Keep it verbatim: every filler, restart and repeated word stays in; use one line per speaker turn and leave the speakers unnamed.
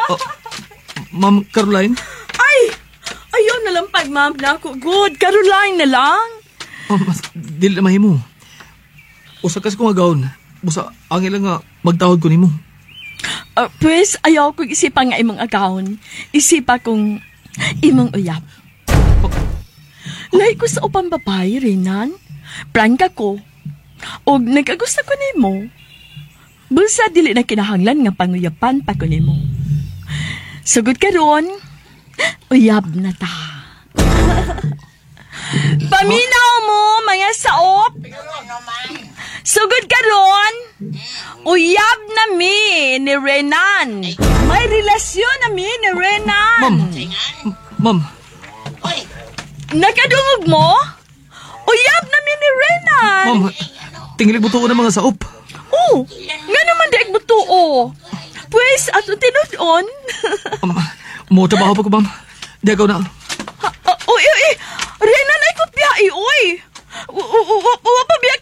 Oh, Ma'am Caroline?
Ay! Ayaw na lang pag ma'am na ako. Good. Caroline na lang.
Oh, mas, dili na mahimo. Usa kasi kong agawon. Busa, ang ilang nga magtawag ko nimo.
Uh, pues, ayaw kong isipa nga imong agawon. Isipa kong imong uyab. Lahi ko sa upang babae, Renan. Prangka ko. Og nagagusto ko nimo. Bulsa dili na kinahanglan nga panguyapan pa ko nimo. Sugod karon, uyab na ta. Paminaw mo, mga saop. Sugod karon, uyab na mi ni Renan. May relasyon na mi ni Renan.
Ma'am, ma'am,
Nakadungog mo? Uyab na mi ni Renan.
ma'am, tingilig mo ng mga saop.
Oh, nga naman di butuo. Pwes, ato tinud-on.
Um, mo trabaho pa ko, ma'am. Di ako na.
Ah, Uy, uy, uy. Renan ay kopya, eh, uy. Wa pa biya